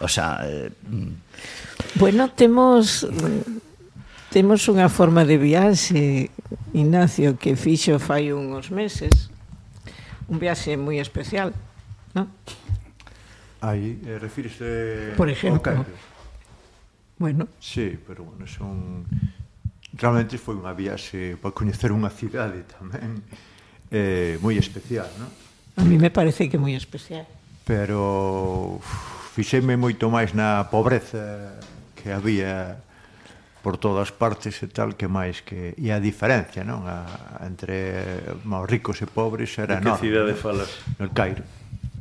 O sea... Bueno, temos unha forma de viaxe, Ignacio, que fixo fai uns meses, un viaxe moi especial, non? Aí, refírese Por exemplo. Bueno. Sí, pero bueno, realmente foi unha viaxe para coñecer unha cidade tamén moi especial, non? A mí me parece que moi especial. Pero fixeme moito máis na pobreza que había por todas partes e tal, que máis que... E a diferencia, non? Entre os ricos e pobres era enorme. De que cidade falas? No Cairo.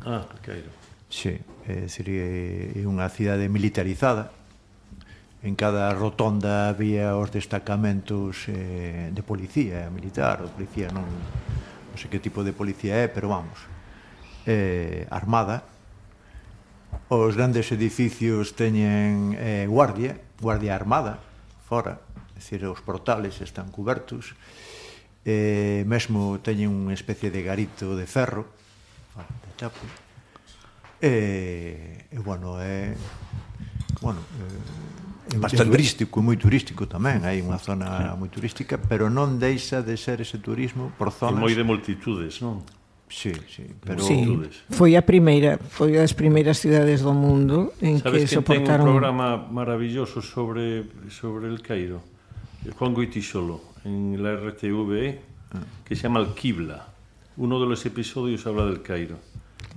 Ah, el Cairo. Sí, é dicir, é unha cidade militarizada. En cada rotonda había os destacamentos de policía militar, ou policía non sei que tipo de policía é, pero vamos, armada. Os grandes edificios teñen guardia armada, fora, é dicir, os portales están cubertos, mesmo teñen unha especie de garito de ferro, de chapo, bueno, é bastante turístico, moi turístico tamén, hai unha zona moi turística, pero non deixa de ser ese turismo por zonas... E moi de multitudes, non? Sí, pero... Sí, foi das primeiras cidades do mundo en que soportaron... Sabes que ten un programa maravilloso sobre el Cairo? Juan Goytisolo, en la RTV, que se llama Al-Qibla. Uno de los episodios habla del Cairo.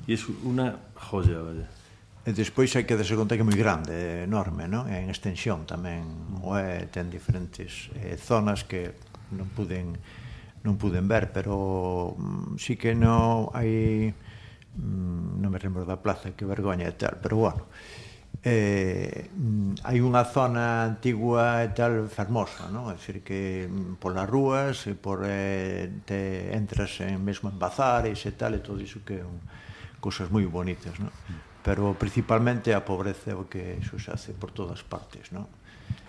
Y es una joya, vaya. E despois hai que darse conta que é moi grande, enorme, non? En extensión tamén, ten diferentes zonas que non puden ver, pero sí que non hai, non me lembro da plaza, que vergoña e tal, pero bueno, hai unha zona antigua e tal fermosa, non? É dicir que polas rúas, te entras mesmo en bazares e tal, e todo iso que é cosas moi bonitas, non? Pero principalmente a pobreza é o que iso se hace por todas partes, non?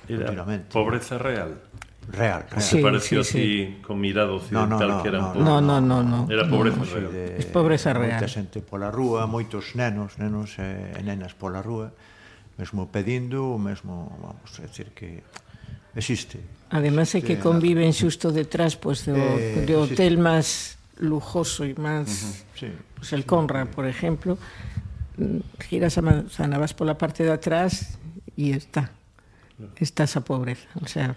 Era pobreza real? Real. Se pareció así con mirada occidental que era un pouco... No. Era pobreza real. É pobreza real. Moita xente pola rúa, moitos nenos e nenas pola rúa, mesmo pedindo, mesmo, vamos, é dicir que existe. Además é que conviven xusto detrás do hotel máis lujoso e máis... El Conrad, por exemplo, giras a manzana, vas pola parte de atrás e estás a pobreza, o sea,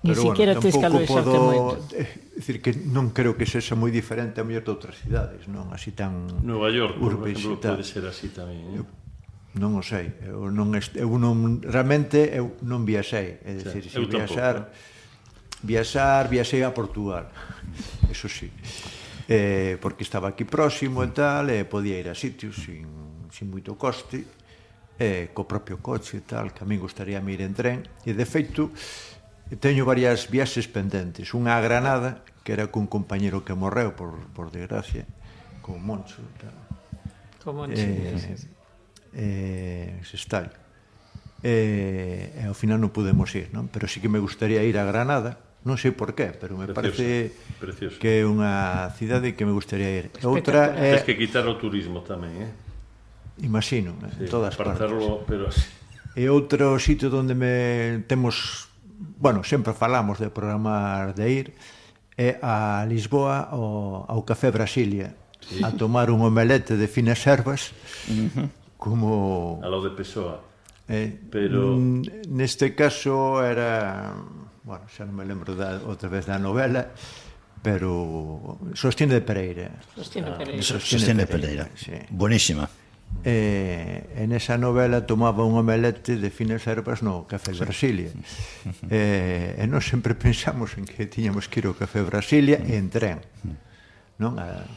ni siquiera tes que aloixarte moito. É dicir que non creo que sexa moi diferente a mellor de outras cidades, non así tan Nueva York, por exemplo, pode ser así tamén. Non o sei, realmente eu non viaxei, é dicir, se viaxei a Portugal, eso sí, porque estaba aquí próximo e tal, e podía ir a sitios sin moito coste, co propio coche e tal, que a mí gustaría ir en tren, e de feito teño varias viaxes pendentes, unha a Granada, que era cun compañero que morreu, por desgracia, con Moncho e tal. Con Moncho, Sestallo. E ao final non pudemos ir, non? Pero sí que me gustaría ir a Granada, non sei por qué, pero me parece que é unha cidade que me gustaría ir. Outra é... Tens que quitar o turismo tamén, Imagino, en todas partes. Pero así. E outro sitio onde temos, bueno, sempre falamos de programar de ir, é a Lisboa ao Café Brasilia, a tomar un omelete de finas ervas, como... A lo de Pessoa. Pero... Neste caso era... Bueno, xa non me lembro outra vez da novela, pero Sostiene de Pereira. Sostiene de Pereira, buenísima. En esa novela tomaba un omelete de finas ervas no Café Brasilia. E nós sempre pensamos en que tiñamos que ir ao Café Brasilia e en tren.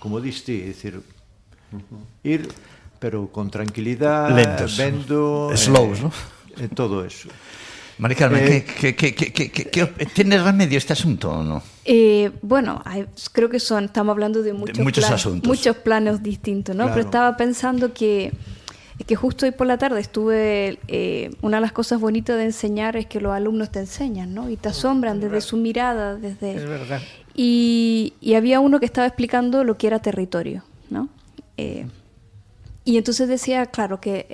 Como diste, é dicir, ir, pero con tranquilidade, vendo... Slows, non? E todo eso. Mari Carmen, ¿tiene remedio este asunto o no? Bueno, creo que estamos hablando de muchos planos distintos, ¿no? Claro. Pero estaba pensando que justo hoy por la tarde estuve, una de las cosas bonitas de enseñar es que los alumnos te enseñan, ¿no? Y te asombran desde su mirada, desde... Es verdad. Y había uno que estaba explicando lo que era territorio, ¿no? Y entonces decía, claro, que